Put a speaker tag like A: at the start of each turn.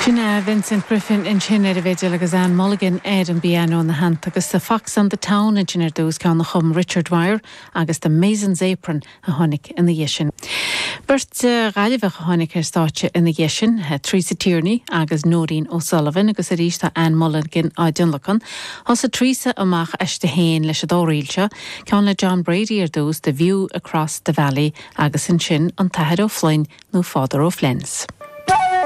A: Sin é Vincent Griffin ansin ar an bhfidil agus Anne Mulligan ar an bpianó ina theannta agus The Fox on the Town ansin ar dtús, ceann a chum Richard Wire agus The Mason's Apron a tháinig ina dhiaidh sin. Beirt Ghaillimheach a tháinig ar stáitse ina dhiaidh sin, Teresa Tierney agus Nóirín O'Sullivan agus arís tá Anne Mulligan á dtionlacan. Thosaigh Teresa amach aisti féin leis an dá ríl seo, ceann le John Brady ar dtús, The View Across the Valley agus ansin An tAthair Ó Floinn nó Father O'Flynn's.